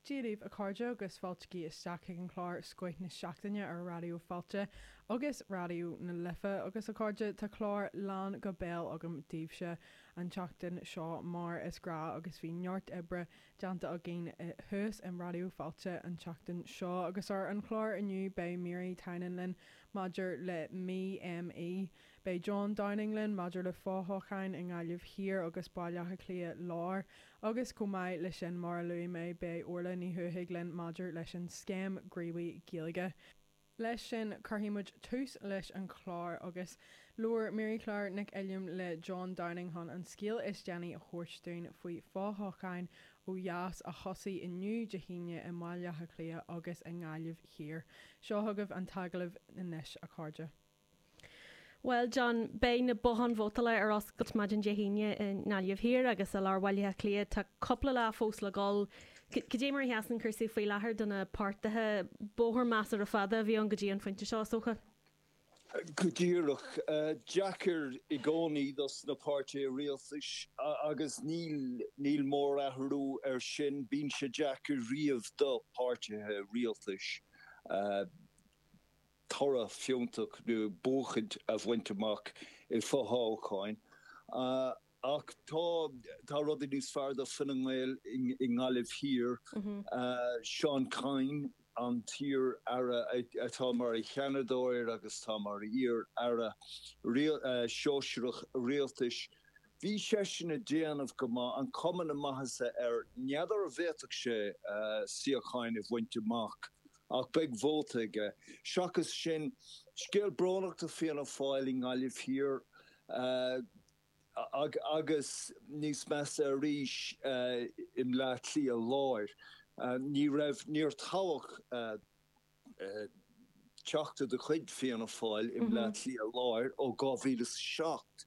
Dia daoibh a chairde agus fáiltigí isteach chuig an chlár Scoith na Seachtaine ar Raidió Fáilte agus Raidió na Life. Agus a chairde, tá clár lán go béal agam daoibhse an tseachtain seo mar is gnáth agus bhí neart oibre déanta againn thuas in Raidió Fáilte an tseachtain seo. Agus ar an chlár inniu beidh Mary Tynan linn maidir le Mí ME. Beidh John Downing linn maidir le fothoghcháin i nGaillimh Thiar agus Baile Átha Cliath Láir agus chomh maith leis sin mar a luaigh mé beidh Orla Ní Thuathaigh linn maidir leis an Scéim Gníomhaí Gaeilge. Leis sin cuirfidh muid tús leis an chlár agus labhair Mary Claire Nic Uilliam le John Downing chun an scéal is déanaí a thabhairt dúinn faoi fothoghcháin ó dheas a thosaigh inniu Dé hAoine i mBaile Átha Cliath agus i nGaillimh Thiar. Seo chugaibh an t-agallamh anois a chairde. Bhuel, John, beidh na botháin vótála ar oscailt maidin Dé hAoine i nGaillimh Thiar agus i lár Bhaile Átha Cliath. Tá cúpla lá fós le dhul. Cad é mar a sheasann cúrsaí faoi láthair do na páirtithe? Bóthar measartha fada a bhí ann go dtí an phointe seo, is dócha. Go díreach. Deacair i gcónaí dos na páirtithe rialtais agus níl níl mórathrú ar sin. Bíonn sé deacair riamh do páirtithe rialtais. toradh fiúntach nó buachaint a bhaint amach i bhfothoghcháin. Ach tá tá rudaí níos fearr do Fine Gael i nGaillimh Thiar. Seán Kyne, an t-iar-aire atá mar Sheanadóir agus tá mar iar-aire sóisearach rialtais, bhí seisean ag déanamh go maith, an cuma na maitheasa air. N'fheadar an bhféadfadh sé suíocháin a bhaint amach Ach beidh vóta aige. Seachas sin, scéal brónach do Fianna Fáil i nGaillimh Thiar agus níos measa arís i mBleá Cliath Láir. Ní raibh, níor toghadh teachta de chuid Fianna Fáil i mBleá Cliath Láir ó 2007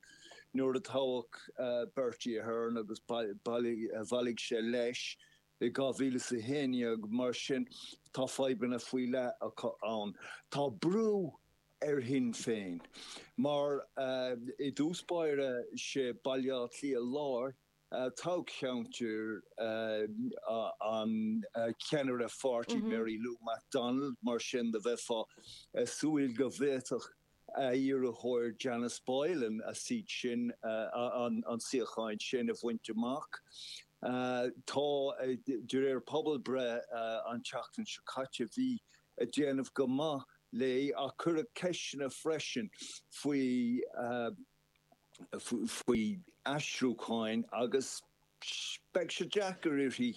nuair a toghadh Bertie Ahern agus bhailigh sé leis. I 2011, mar sin, tá fadhbanna faoi leith acu ann. Tá brú ar Shinn Féin mar i dtús báire sé Baile Átha Cliath Láir toghcheantar an cheannaire pháirtí Mary Lou McDonald, mar sin de bheifeá ag súil go bhféadfadh a hiarrthóir Janice Boylan a seat sin, an suíochán sin a bhaint amach. Tá, de réir pobalbhreith an tseachtain seo caite, bhí ag déanamh go maith léi ach cuireadh ceisteanna freisin faoi faoi aistriúcháin agus beidh sé deacair uirthi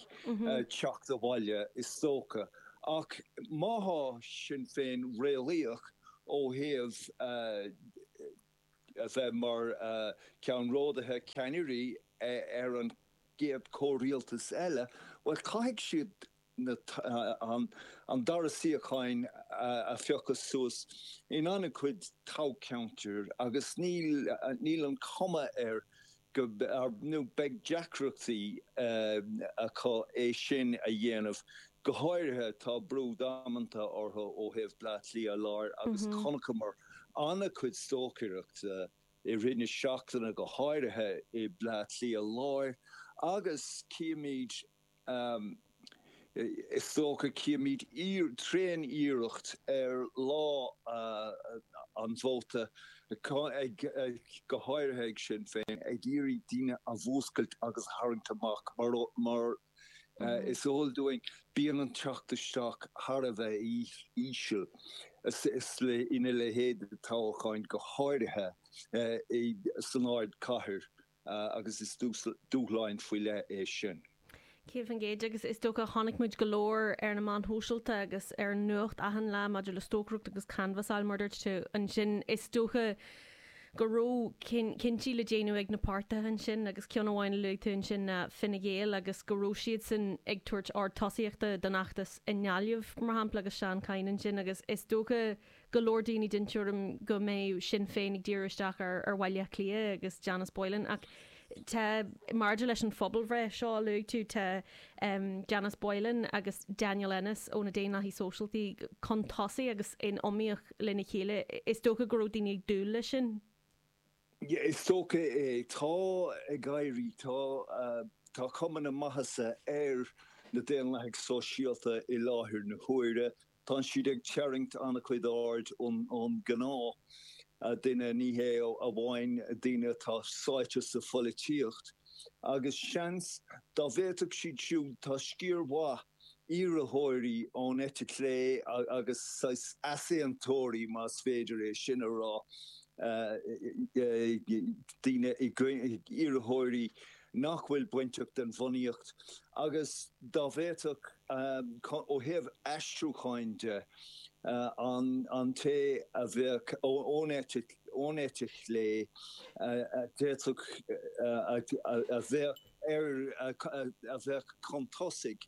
teacht abhaile is dócha. Ach má thá Sinn Féin réalaíoch ó thaobh a bheith mar cheannródaithe, ceannairí ar an gcéad chomhrialtas eile, bhuel caithfidh siad an dara suíocháin a phiocadh suas in an-chuid toghcheantar agus níl níl an chuma air go nó beidh deacrachtaí acu é sin a dhéanamh. Go háirithe tá brú damanta orthu ó thaobh Bleá Cliath Láir agus chonaiceamar an-chuid stocaireachta i rith na seachtaine go háirithe i Bleá Cliath Láir agus címid Is dócha, címid tréan-iarracht ar lá an vóta, go háirithe ag Sinn Féin, ag iarraidh daoine a mhúscailt agus a tharraingt amach mar is eol dúinn, bíonn an teacht isteach thar a bheith íseal ina leithéid de toghcháin, go háirithe san ardchathair. agus is dúshláin faoi leith é sin. 100% agus is dócha chonaic muid go leor ar na meáin shóisialta agus ar an nuacht achan lá maidir le stocaireacht agus canbhasáil mar a dúirt tú ansin. Is dócha go raibh cinntí le déanamh ag na páirtithe ansin agus ceann amháin a luaigh tú ansin ná Fine Gael agus go raibh siadsan ag tabhairt ardtosaíochta don fheachtas i nGaillimh mar shampla agus Seán Kyne ansin agus is dócha go leor daoine den tuairim go mbeadh Sinn Féin ag díriú isteach ar Bhaile Átha Cliath agus Janice Boylan ach tá, maidir leis an phobalbhreith seo a luaigh tú, tá Janice Boylan agus Daniel Ennis ó na Daonlathaigh Sóisialta chun tosaigh agus in iomaíocht lena chéile. Is dócha go raibh daoine ag dúil leis sin. Is dócha é. Tá ag éirí, tá, tá cuma na maitheasa ar. na Daonlathaigh Sóisialta i láthair na huaire. Tá siad ag tarraingt an-chuid aird ón gnáth duine, ní hé amháin daoine atá sáite sa pholaitíocht, agus seans dá bhféadfadh siad siúd, tá sciar mhaith iarrthóirí ón eite chlé agus saghas easaontóirí, más féidir é sin a rá, daoine, iarrthóirí nach bhfuil bainteach den bhunaíocht agus dá bhféadfadh, ó thaobh aistriúcháin de, an té a bheadh ón eite, ón eite chlé, a d'fhéadfadh, a bheadh ar, a bheadh chun tosaigh,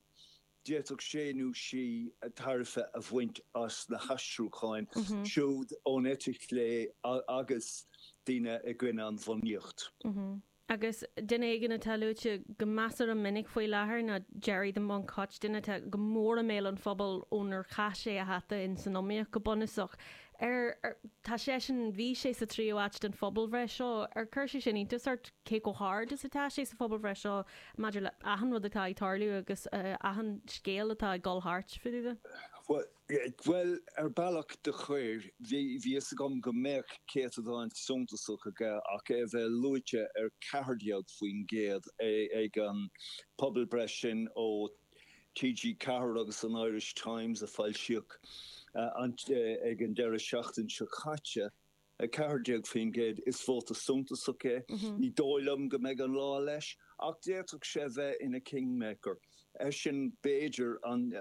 d'fhéadfadh sé nó sí tairbhe a bhaint as na haistriúcháin siúd ón eite chlé agus daoine i gcoinne an bhunaíocht. Agus duine éigin atá luaite go measartha minic faoi láthair ná Gerry 'The Monk' Hutch, duine atá go mór i mbéal an phobail ónar chaith sé a hata in san iomaíocht go bunúsach. Ar, tá seisean, bhí sé sa tríú áit den phobalbhreith seo, ar chuir sé sin iontas ort cé chomh hard is atá sé sa phobalbhreith seo maidir le achan rud atá ag tarlú agus achan scéal atá ag dul thart fá dtaobh de? Bhuel, ar bealach do chuir. Bhí fhios agam go mbeadh céatadán suntasach aige ach é a bheith luaite ar 14% ag an pobalbhreith sin ó TG4 agus an Irish Times a foilsíodh ag an deireadh seachtaine seo caite. 14%, is vóta suntasach é. Ní dóigh liom go mbeidh an lá leis, ach d'fhéadfadh sé bheith ina kingmaker. Eisean, b'fhéidir, an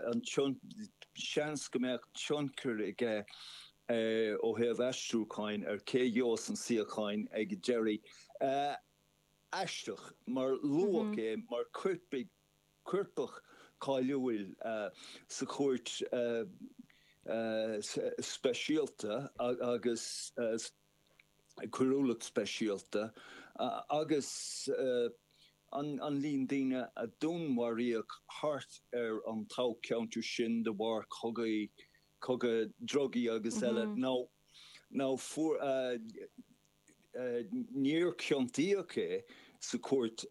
seans go mbeadh tionchar aige ó thaobh aistriúcháin ar cé a gheobhas an suíochán ag deireadh. Aisteach, mar luadh é mar choirpigh coirpeach cáiliúil sa chúirt speisialta agus coiriúlacht speisialta agus an líon daoine a dúnmharaíodh thart ar an toghcheantar sin de bharr cogaí, cogadh drugaí agus eile nó fuair Níor ciontaíodh é sa Chúirt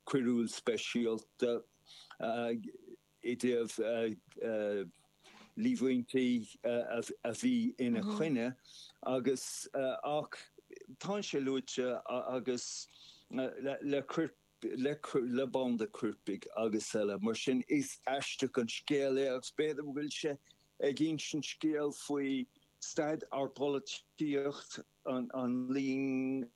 Choiriúil Speisialta i dtaobh líomhaintí a bhí ina choinne agus ach tá sé luaite agus le le banda coirpigh agus eile. Mar sin is aisteach an scéal é agus b'fhéidir go bhfuil sé ag insint scéal faoi staid ár bpolaitíocht, an líon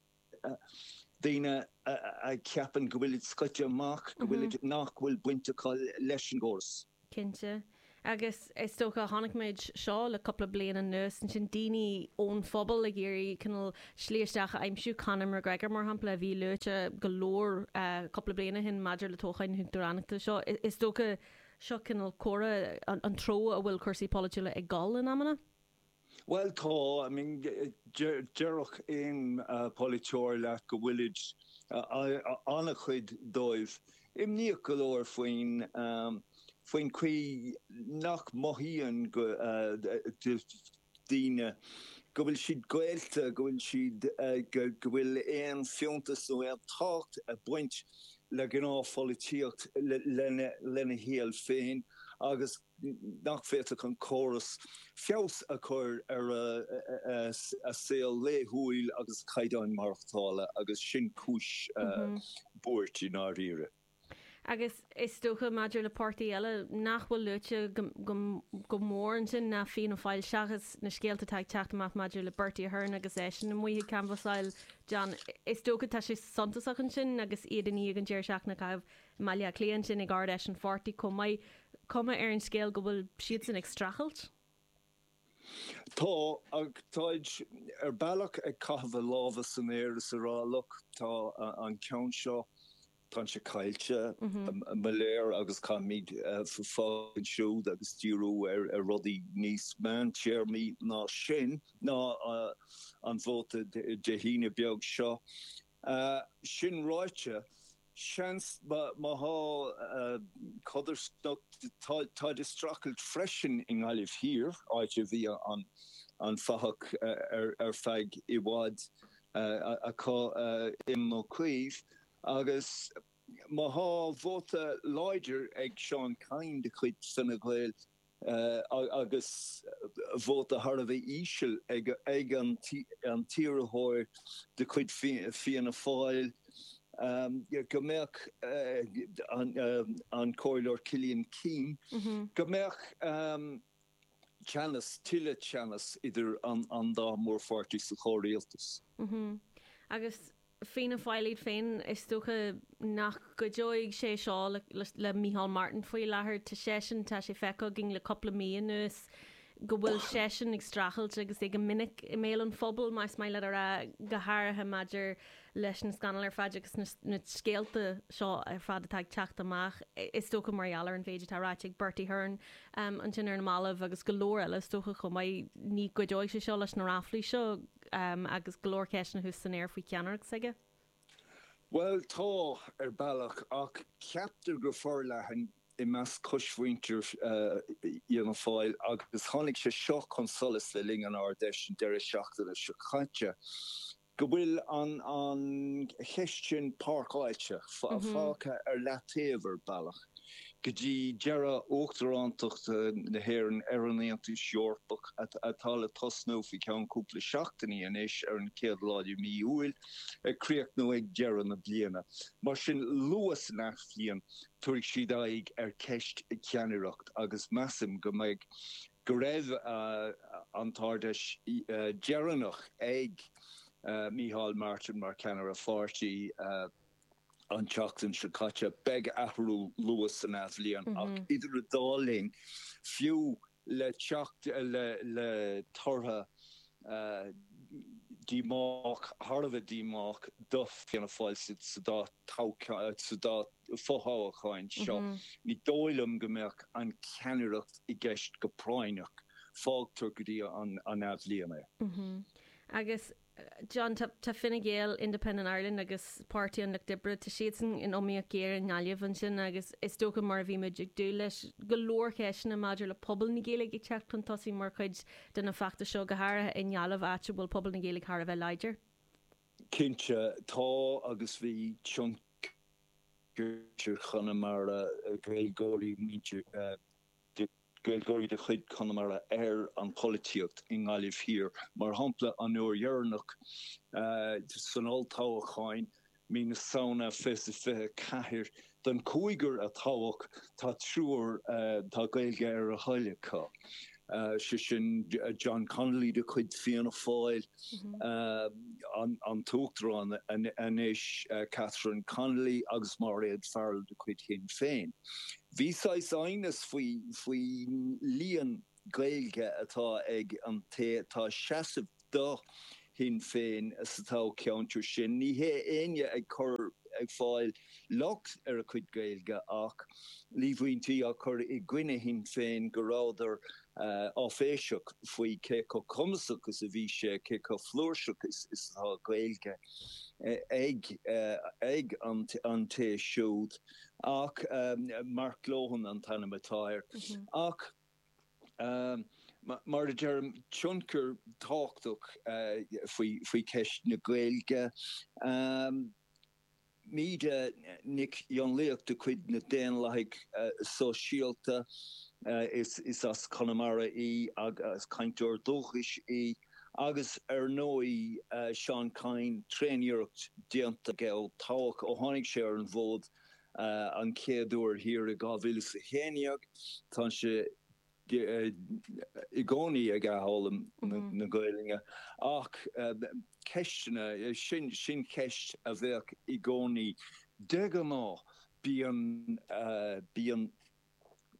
daoine a cheapann go bhfuilid scoite amach, go bhfuilid, nach bhfuil baint acu leis an gcóras. Cinnte. Agus is dócha, chonaic muid seo le cúpla bliain anuas, ansin daoine ón phobal ag iarraidh cineál slí isteach a aimsiú, Conor McGregor mar shampla a bhí luaite go leor cúpla bliain ó shin maidir le toghcháin na huachtaránachta seo. Is dócha Seo cineál comhartha an treo a bhfuil cúrsaí polaitiúla ag dul in amanna. Bhuel tá, I mean déarfadh aon pholaiteoir leat go bhfuilid, an-chuid dóibh, imníoch go leor faoin, faoin chaoi nach mothaíonn go, daoine, go bhfuil siad gaolta, go bhfuil siad, go bhfuil aon fiúntas nó aon tábhacht ag baint le gnáthpholaitíocht lena shaol féin agus nach bhféadfadh an córas feabhas a chur ar a saol laethúil agus a caighdeán maireachtála agus sin cúis buairt i ndáiríre. Agus is dócha, maidir le páirtí eile nach bhfuil luaite go mór ansin ná Fianna Fáil, seachas na scéalta atá ag teacht amach maidir le Bertie Ahern agus eisean amuigh ag canbhasáil, John, is dócha tá sé suntasach ansin agus iad i ndiaidh an deireadh seachtaine a chaitheamh i mBaile Átha Cliath ansin ag Ard-Fheis an pháirtí chomh maith. Cuma ar an scéal go bhfuil siadsan ag streachailt? Tá, ach táid ar bealach ag caitheamh a lámha san aer is a rá, look, tá an ceann seo, tá sé caillte, mo léir, agus caithfimid fágáil ansiúd agus díriú ar rudaí níos meántéarmaí ná sin, ná an vóta Dé hAoine beag seo. Sin ráite, seans má tá codarsnacht, táid ag streachailt freisin i nGaillimh Thiar, áit a bhí an fathach ar feadh i bhfad acu, Éamon Ó Cuív, agus. Má thá vóta láidir ag Seán Kyne de chuid Fine Gael agus vóta thar a bheith íseal ag an t-iarrthóir de chuid Fianna Fáil, go mbeadh an Comhairleoir Cillian Keane, go mbeadh teannas, tuilleadh teannas idir an dá mhórpháirtí sa chomhrialtas. Agus Fianna Fáil iad féin, is dócha nach gcuideoidh sé seo le Micheál Martin faoi láthair. Tá seisean, tá sé feicthe againn le cúpla mí anuas go bhfuil seisean ag streachailt agus é go minic i mbéal an phobail, más maith leat a rá, go háirithe maidir leis na scannail ar fad agus na scéalta seo ar fad atá ag teacht amach, is dócha mar gheall ar an mhéid atá ráite ag Bertie Ahern ansin ar na mallaibh agus go leor eile is dócha chomh maith. Ní gcuideoidh sé seo leis na ráflaí seo. agus go leor ceisteanna thuas san aer faoi cheannaireacht s'aige. Bhuel, tá, ar bealach, ach ceaptar go forleathan i measc coismhuintir Fhianna Fáil, agus tháinig sé seo chun solais le linn an Ard-Fheis an deireadh seachtaine seo caite, go bhfuil an cheist sin páirceáilte, fágtha ar leataobh ar bealach. go dtí deireadh Uachtarántacht na hÉireann ar an Aontas Eorpach, atá le tosnú faoi cheann cúpla seachtainí anois, ar an chéad lá de mhí Iúil, ag críochnú ag deireadh na bliana. Mar sin, luath san athbhliain, tabharfaidh siad aghaidh ar cheist cheannaireacht agus measaim go mbeidh, go raibh an tArd-Fheis deireanach ag Micheál Martin mar cheannaire pháirtí. an tseachtain seo caite. Beidh athrú luath san athbhliain ach idir an dá linn, fiú le teacht le tortha díomách, thar a bheith díomách do Fianna Fáil sa dá sa dá fothoghchán seo, ní dóigh liom go mbeadh an cheannaireacht i gceist go práinneach. Fágtar go dtí an athbhliain é. Agus John, tá Fine Gael, Independent Ireland agus Páirtí an Lucht Oibre, tá siadsan in iomaíocht ghéar i nGaillimh ansin agus is dócha mar a bhí muid ag dúil leis, go leor ceisteanna maidir le pobal na Gaeilge ag teacht chun tosaigh mar chuid de na feachtais seo, go háirithe i nGaillimh, áit a bhfuil pobal na Gaeilge thar a bheith láidir. Cinnte, tá agus bhí tionchar Chonamara, Gaeilgeoirí, muintir, Gaeilgeoirí de chuid Chonamara ar an pholaitíocht i nGaillimh Thiar. Mar shampla, an uair dheireanach san olltoghchán, mí na Samhna 2024, den chúigear a toghadh, tá triúr, tá Gaeilge ar a thoil acu, sé sin John Connolly de chuid Fianna Fáil, an tUachtarán anois, Catherine Connolly agus Mairéad Farrell de chuid Shinn Féin. Bhí saghas aighneas faoi faoin líon Gaeilge atá ag an té atá ag seasamh do Shinn Féin sa toghcheantar sin. Ní hé éinne ag cur, ag fáil locht ar a chuid Gaeilge ach líomhaintí á cur i gcoinne Shinn Féin go rabhadar áiféiseach faoi cé chomh cumasach is a bhí sé, cé chomh flúirseach is atá Gaeilge ag ag an té siúd. Ach Mark Lohan an t-ainm atá air. Ach mar a deirim, tionchar tábhachtach faoi cheist na Gaeilge. Míde Nic Fhionnlaoich de chuid na Daonlathaigh Sóisialta, is as Conamara í agus cainteoir dúchais í. Agus ar ndóigh Seán Kyne, tréan-iarracht déanta aige ó toghadh, ó tháinig sé ar an bhfód an chéad uair thiar i 2011, tá sé i gcónaí ag athfhoghlaim na Gaelainne. Ach ceisteanna, sin, sin ceist a bheadh i gcónaí. De ghnáth bíonn, bíonn.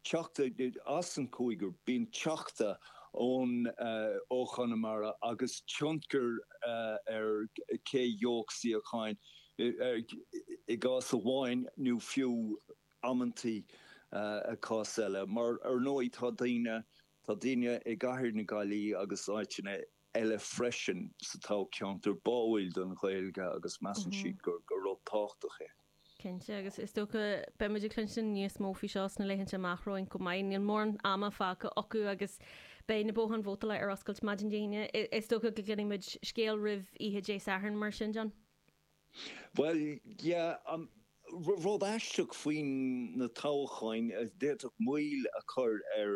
Teachta as an chúigear, bíonn teachta ón ó Chonamara agus tionchar ar cé gheobhadh suíocháin i gcás amháin nó fiú amantaí i gcás eile. Mar ar ndóigh tá daoine, tá daoine i gcathair na Gaillimhe agus áiteanna eile freisin sa toghcheantar báúil don Ghaeilge agus measann siad gur rud tábhachtach é. Cinnte, agus is dócha beidh muid ag cluinstin níos mó faoi seo sna laethanta amach romhainn chomh maith. Níl mórán ama fágtha acu agus beidh na botháin vótála ar oscailt maidin Dé hAoine. Is dócha go gcluinfidh muid scéal roimh oíche Dé Sathairn mar sin, John? Bhuel, yeah, an. Rud aisteach faoi na toghcháin a d'fhéadfadh moill a chur ar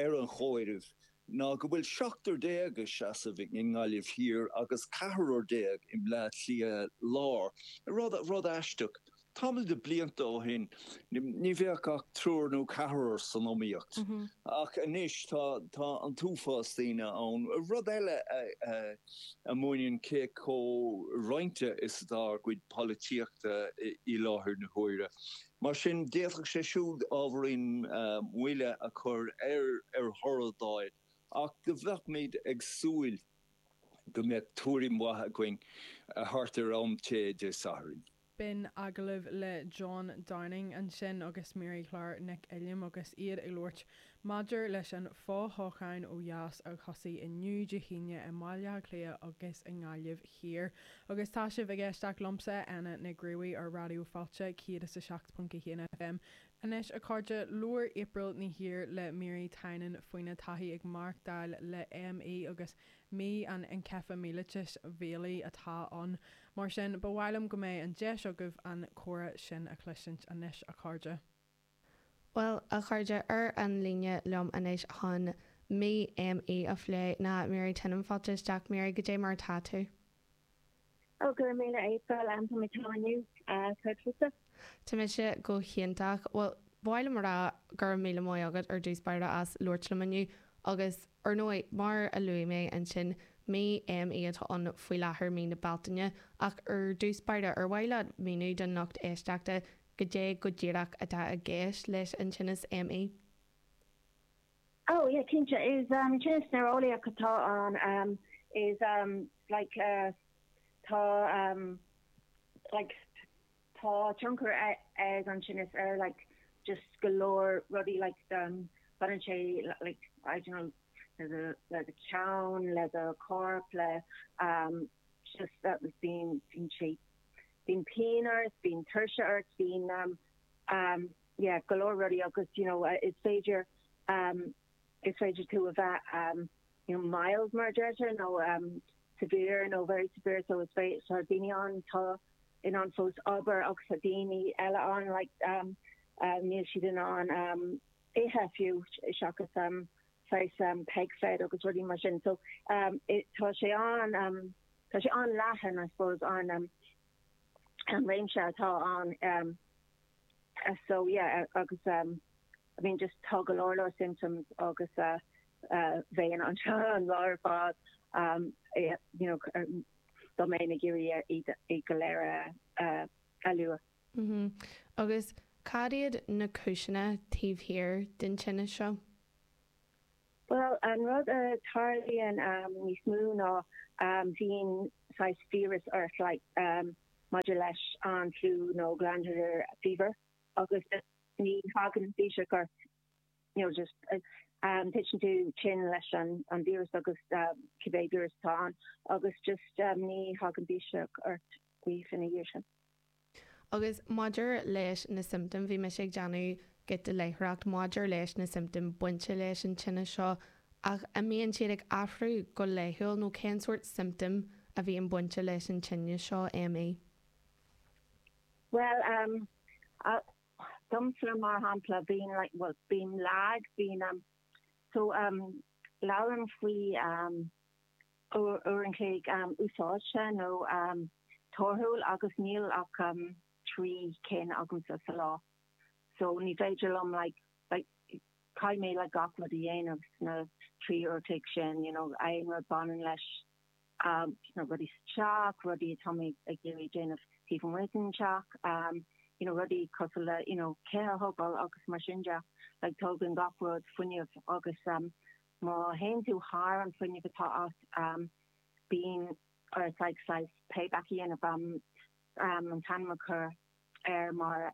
ar an chomhaireamh ná go bhfuil seachtar ag seasamh i nGaillimh Thiar agus ceathrar i mBleá Cliath Lár. Rud aisteach. Tamall de blianta ó shin ní bheadh ach triúr nó ceathrar san iomaíocht ach anois tá tá an t-uafás daoine ann. Rud eile a mhúineann cé chomh roinnte is atá ár gcuid polaitíochta i láthair na huaire. Mar sin d'fhéadfadh sé siúd ábhairín moille a chur ar ar thoradh a fháil ach do bheadh ag súil go mbeadh tuairim mhaith againn thart ar am tae Dé Sathairn. B'in agallamh le John Downing ansin agus Mary Clár Nic Uilliam agus iad ag labhairt maidir leis an fho-thoghchán ó dheas a thosaigh inniu, Dé hAoine, i mBaile Átha Cliath agus i nGaillimh Thiar. Agus tá sibh ag éisteacht liomsa, Anna Nic Gríobhaigh, ar Raidió Fáilte 107.1 FM. Anois, a chairde, labhair April Ní Shaoir le Mary Tynan faoina taithí ag maireachtáil le ME agus Mí an Einceifeaimiailítis Bhéalaigh atá ann. Mar sin, ba mhaith liom go mbeadh an deis agaibh an comhrá sin a chloisint anois, a chairde. Bhuel, a chairde, ar an líne liom anois chun Mí ME a phlé ná Mary Tynan. Fáilte isteach, Mary, goidé mar atá tú? Ó, go raibh míle, April, tá mé togha inniu. Céard fútsa? Tá mise go hiontach. Bhuel, ba mhaith liom a rá go raibh míle maith agat ar dtús báire as labhairt liom inniu agus, ar ndóigh, mar a luaigh mé ansin, mí ME atá ann faoi láthair, mí na Bealtaine, ach ar dtús báire, ar mhaith leat míniú don lucht éisteachta goidé go díreach atá i gceist leis an tinneas ME? Oh yeah, cinnte. Is tinneas néareolaíoch atá ann. Is like tá like tá tionchar ag an tinneas ar like just go leor rudaí like baineann sé like I don't know le do le do cheann, le do chorp, le just bíonn bíonn sé bíonn pian ort, bíonn tuirse ort, bíonn yeah go leor rudaí agus you know is féidir um is féidir tú a bheith um you know mild mar a deirtear nó um severe nó very severe so is féidir tá daoine ann atá in ann fós obair agus tá daoine eile ann like um uh, níl siad in ann um ithe fiú seachas um saghas um peg fed agus rudaí mar sin so um it, tá sé an um tá sé an-leathan I suppose an um an réimse atá ann um So yeah agus um I mean just tá go leor leor symptoms agus uh bheinn anseo an lá ar fad um you know dá mbeinn ag iarraidh iad iad go léir a a lua. Mhm. Agus cad iad na cúiseanna taobh thiar den tinneas seo? Bhuel, an rud a tarlaíonn níos mó ná bíonn saghas fiabhras ort like maidir leis an fliú nó glandular fever agus ní thagann biseach ort you know just titeann tú tinn leis an an víreas agus cibé víreas atá ann agus just ní thagann biseach ort arís ina dhiaidh sin. Agus maidir leis na siomptóim, bhí mise ag déanamh giota léitheoireacht maidir leis na siomptóim bainte leis an tinneas seo, ach an mbíonn siad ag athrú go laethúil nó cén sórt siomptóim a bhíonn bainte leis an tinneas seo, ME? Bhuel, domsa mar shampla, bíonn like, bhuel, bím lag, bíonn, so labhraím faoi uair an chloig úsáidte nó torthúil agus níl ach 3 cinn agamsa sa lá so ní féidir liom like like caithfidh mé like gach rud a dhéanamh sna 3 uair an chloig sin you know aon rud baineann leis you know rudaí sa teach, rudaí atá mé ag iarraidh déanamh taobh amuigh den teach you know rudaí cosúil le you know tithe a thógáil agus mar sin de like tógann gach rud fuinneamh agus Má théann tú thar an fuinneamh atá agat, bíonn ort like saghas payback a dhéanamh, an t-ainm a chur air mar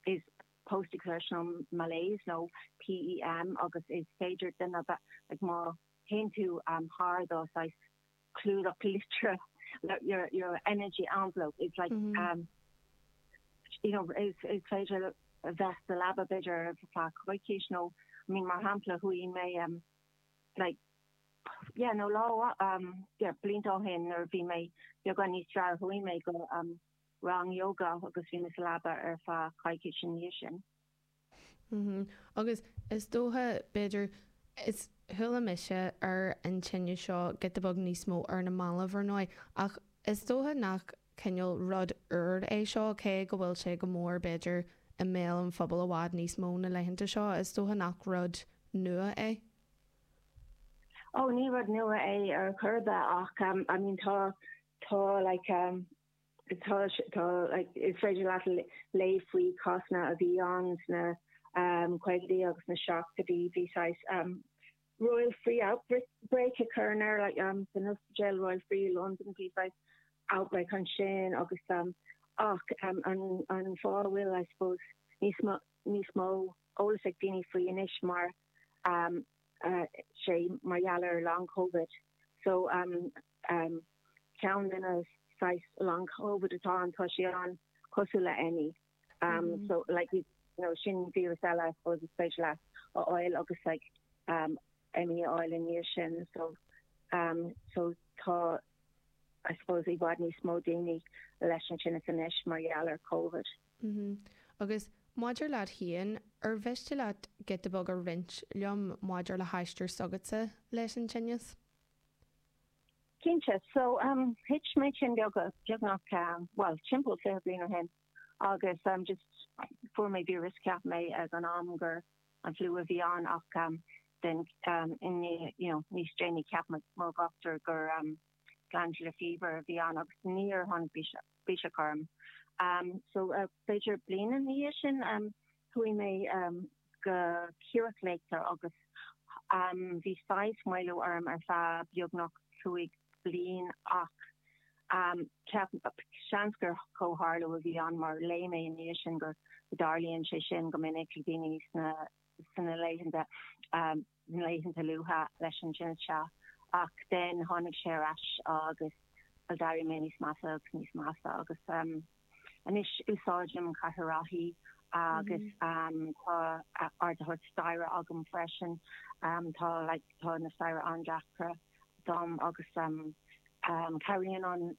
is post exertional malaise nó PEM agus is féidir duine a bheith like má théann tú thar do saghas clúdach litreach your your energy envelope is like you know is is féidir a bheith sa leaba b'fhéidir ar feadh coicís nó I mean mar shampla chuaigh mé um like yeah nó lá um yeah blianta ó shin nuair a bhí mé beagán níos fearr chuaigh mé go um. rang yoga agus bhí mé sa leaba ar feadh coicís ina dhiaidh sin. Mhm. Agus is dócha, b'fhéidir, is chuala mise ar an tinneas seo giota beag níos mó ar na mallaibh ar ndóigh, ach is dócha nach cineál rud úr é seo, cé go bhfuil sé go mór b'fhéidir i mbéal an phobail i bhfad níos mó na laethanta seo, is dócha nach rud nua é. Oh, ní rud nua é ar chor ar bith ach um, I mean tá tá like um, tá tá like is féidir leat léamh faoi cásanna a bhí ann sna um, caogaidí agus na seachtóidí bhí saghas um, Royal Free outbreak a cuireadh air like um, san ospidéal Royal Free London bhí saghas outbreak ansin agus um, ach um, an, an fáth a bhfuil I suppose níos mó níos mó eolas ag daoine faoi anois mar um, uh, sé mar gheall ar long covid so um, um, ceann de na saghas long covid atá ann tá sé an-chosúil le ME um, so like you know sin víreas eile I suppose is féidir leat a fháil agus like um, ME a fháil i ndiaidh sin so um, so tá I suppose i bhfad níos mó daoine leis an tinneas anois mar gheall ar Covid. Mm-hmm. Agus maidir leat féin, ar mhiste leat giota beag a roinnt liom maidir le haistear s'agatsa leis an tinneas? Cinnte. So, um, thit mé tinn beag, beagnach, um, bhuel, timpeall 20 bliain ó shin agus um, just fuair mé víreas, cheap mé ag an am gur an fliú a bhí ann ach um, then um, in, you know, níos déanaí cheap mo, mo dhochtúir gur um, glandular fever a bhí ann agus níor tháinig biseach, biseach orm. Um, so, uh, b'fhéidir bliain ina dhiaidh sin um, chuaigh mé um, go cíorach léachta agus bhí saghas maolú orm ar feadh beagnach 5 bliain ach cheap, seans gur comhtharlú a bhí ann mar léigh mé i ndiaidh sin go dtarlaíonn sé sin go minic le daoine sna sna laethanta na laethanta luatha leis an tinneas seo ach then tháinig sé ar ais agus d'éirigh mé níos measa agus níos measa agus Anois úsáidim cathaoir reathaí agus tá ardaitheoir staighre agam freisin. Tá like tá na staighre an-deacra dom agus cabhraíonn an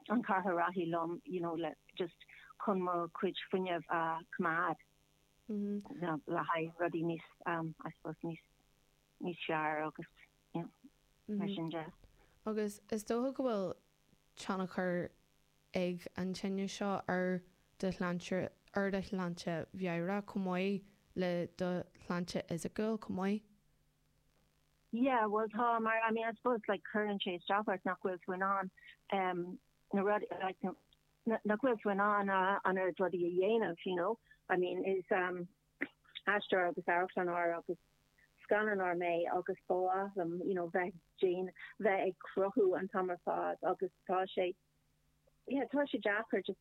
an cathaoir reathaí liom you know le just chun mo chuid fuinnimh a choimeád you know le haghaidh rudaí níos I suppose níos níos fearr agus you know mar sin de. Agus is dócha go bhfuil tionchar ag an tinneas seo ar do shláinte, ar do shláinte mheabhrach chomh maith le do shláinte fhisiciúil chomh maith? Yeah, bhuel tá, mar I mean I suppose like cuireann sé isteach ort nach bhfuil tú in ann um na rudaí like nach bhfuil tú in ann an oiread rudaí a dhéanamh, you know. I mean is um aisteoir agus amharclannóir agus scannánóir mé agus ba mhaith liom you know bheith déan bheith ag cruthú an t-am ar fad agus tá sé yeah tá sé deacair just.